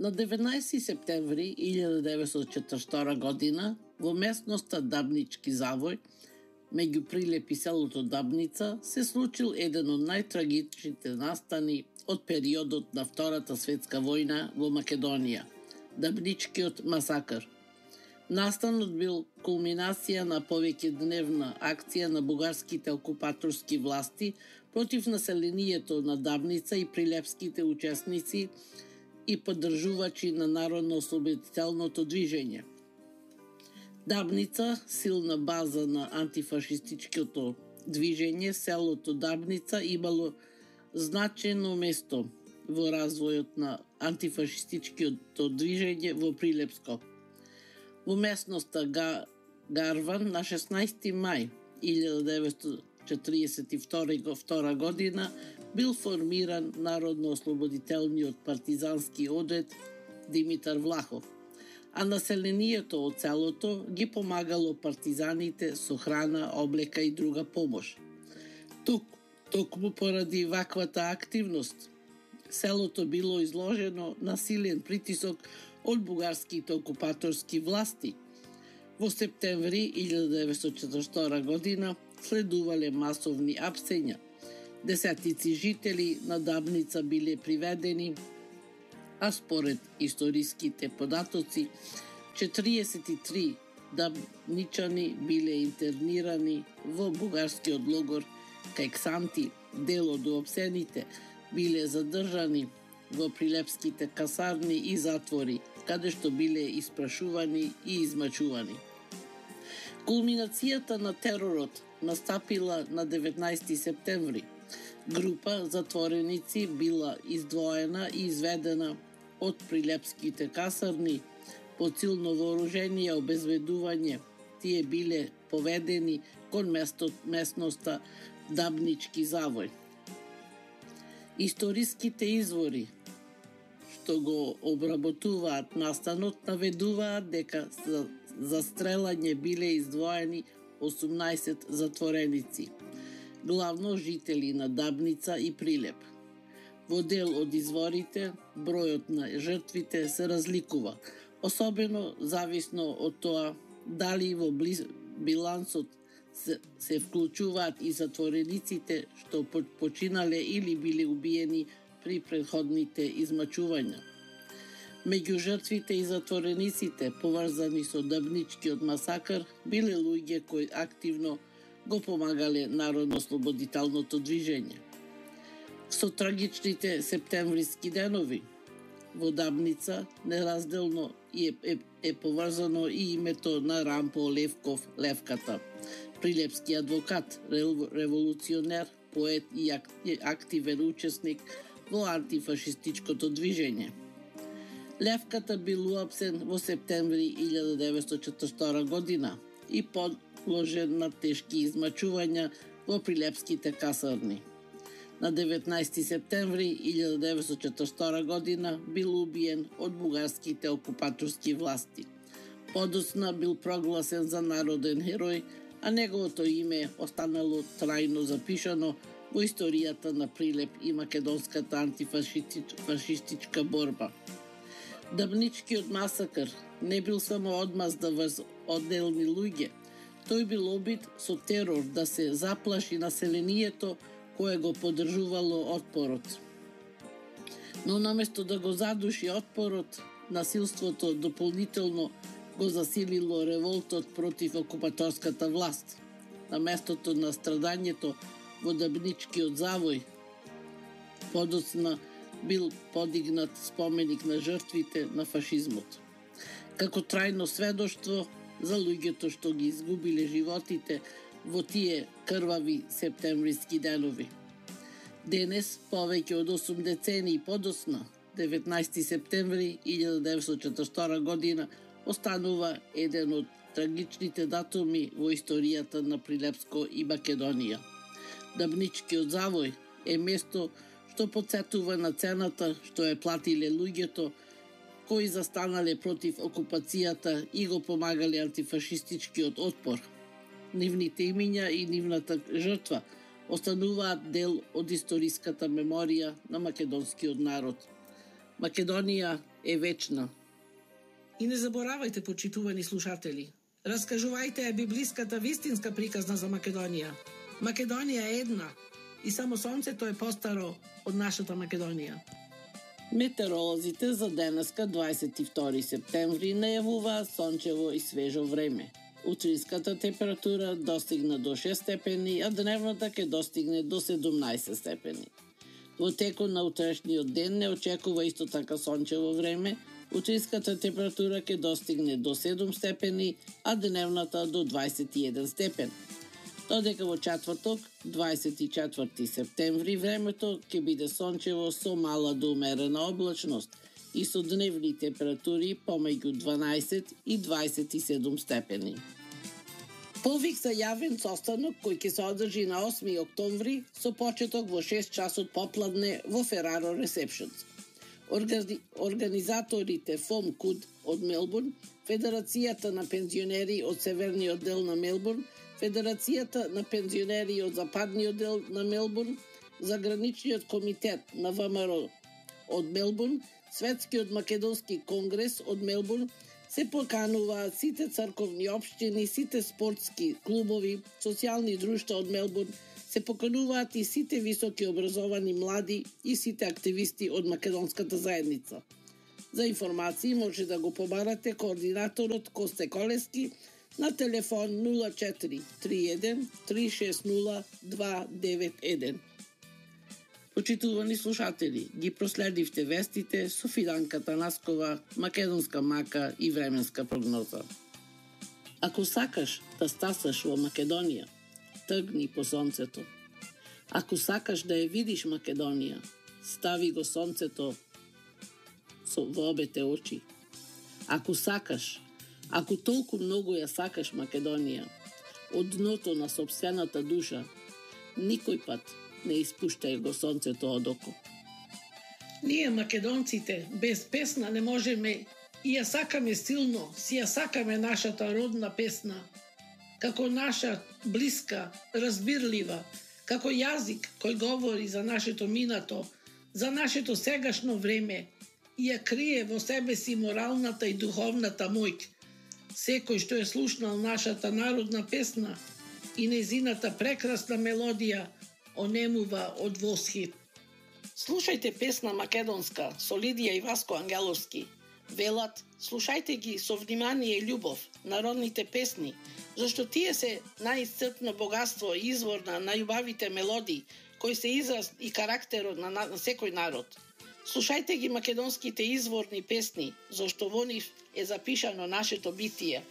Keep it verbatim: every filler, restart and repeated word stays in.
На деветнаесети септември илјада деветстотини и четирдесет и втора година во местноста Дабнички завој, меѓу Прилеп и селото Дабница, се случил еден од најтрагичните настани од периодот на Втората светска војна во Македонија – Дабничкиот масакр. Настанот бил кулминација на повеќедневна акција на бугарските окупаторски власти против населението на Дабница и прилепските учесници и поддржувачи на народно-ослободителното движење. Дабница, силна база на антифашистичкото движење, селото Дабница имало значено место во развојот на антифашистичкото движење во Прилепско. Во местноста Гарван на шеснаесети мај илјада деветстотини четиридесет и втора година бил формиран Народно-ослободителниот партизански одред Димитар Влахов, а населението од селото ги помагало партизаните со храна, облека и друга помош. Тук, токму поради ваквата активност, селото било изложено на силен притисок од бугарските окупаторски власти. Во септември илјада деветстотини четирдесет и втора година следувале масовни апсења. Десетици жители на Дабница биле приведени, а според историските податоци, четириесет и три дабничани биле интернирани во бугарскиот логор кај Ксанти. Дел од уапсените биле задржани во прилепските касарни и затвори, каде што биле испрашувани и измачувани. Кулминацијата на теророт настапила на деветнаесети септември. Група затвореници била издвоена и изведена од прилепските касарни под силно вооружение обезбедување. Тие биле поведени кон местот, местноста Дабнички завој. Историските извори што го обработуваат настанот наведуваат дека за застрелање биле издвоени осумнаесет затвореници, главно жители на Дабница и Прилеп. Во дел од изворите, бројот на жртвите се разликува, особено зависно од тоа дали во близ билансот се, се вклучуваат и затворениците што починале или биле убиени при претходните измачувања. Меѓу жртвите и затворениците поврзани со Дабничкиот масакр биле луѓе кои активно го помагале народно-ослободителното движење. Со трагичните септемвриски денови во Дабница неразделно е, е, е поврзано и името на Рампо Левков Левката, прилепски адвокат, револуционер, поет и активен учесник во антифашистичкото движење. Левката бил уапсен во септември илјада деветстотини четирдесет и втора година и подложен на тешки измачувања во прилепските касарни. На деветнаесети септември илјада деветстотини четирдесет и втора година бил убиен од бугарските окупаторски власти. Подоцна бил прогласен за народен херој, а неговото име останало трајно запишано во историјата на Прилеп и македонската антифашистичка борба. Дабничкиот масакр не бил само одмазда врз одделни луѓе, тој бил обид со терор да се заплаши населението кое го поддржувало отпорот. Но наместо да го задуши отпорот, насилството дополнително го засилило револтот против окупаторската власт. На местото на страдањето во Дабничкиот завој подоцна бил подигнат споменик на жртвите на фашизмот, како трајно сведоштво за луѓето што ги изгубиле животите во тие крвави септемвриски денови. Денес, повеќе од осум децении подоцна, деветнаесети септември илјада деветстотини четирдесет и втора година, останува еден од трагичните датуми во историјата на Прилепско и Македонија. Дабничкиот завој е место што потсетува на цената што е платиле луѓето кои застанале против окупацијата и го помагале антифашистичкиот отпор. Нивните имиња и нивната жртва остануваат дел од историската меморија на македонскиот народ. Македонија е вечна. И не заборавајте, почитувани слушатели, раскажувајте ја библиската вистинска приказна за Македонија. Македонија е една и само сонцето е постаро од нашата Македонија. Метеоролозите за денеска, дваесет и втори септември, најавуваат сончево и свежо време. Утринската температура достигна до шест степени, а дневната ќе достигне до седумнаесет степени. Во текот на утрешниот ден не очекува исто така сончево време. Утринската температура ќе достигне до седум степени, а дневната до дваесет и еден степен. Додека во четврток, дваесет и четврти септември, времето ќе биде сончево со мала до умерена облачност и со дневни температури помеѓу дванаесет и дваесет и седум степени. Повик за јавен состанок кој ќе се одржи на осми октомври со почеток во шест часот попладне во Фераро Ресепшенс. Органи... Организаторите ФОМ КУД од Мелбурн, Федерацијата на пензионери од северниот дел на Мелбурн, Федерацијата на пензионери од западниот дел на Мелбурн, Заграничниот комитет на ВМРО од Мелбурн, Светскиот македонски конгрес од Мелбурн, се покануваат сите црковни општини, сите спортски клубови, социјални друштва од Мелбурн, се покануваат и сите високи образовани млади и сите активисти од македонската заедница. За информации може да го побарате координаторот Косте Колески на телефон нула четири три еден три шест нула два девет еден. Почитувани слушатели, ги проследивте вестите со Фиданка Танаскова, македонска мака и временска прогноза. Ако сакаш да стасаш во Македонија, тргни по сонцето. Ако сакаш да ја видиш Македонија, стави го сонцето со во обете очи. Ако сакаш, ако толку многу ја сакаш Македонија, од дното на сопствената душа, никој пат не испуштај го сонцето од око. Ние македонците без песна не можеме и ја сакаме силно, си ја сакаме нашата родна песна, како наша блиска, разбирлива, како јазик кој говори за нашето минато, за нашето сегашно време и ја крие во себе си моралната и духовната моќ. Секој што е слушнал нашата народна песна и незината прекрасна мелодија онемува од восхит. Слушајте песна македонска со Лидија и Васко Ангеловски. Велат, слушајте ги со внимание и љубов, народните песни, зашто тие се најисцрпно богатство и извор на најубавите мелодии, кои се израз и карактерот на, на, на секој народ. Слушајте ги македонските изворни песни, зашто во нив е запишано нашето битие.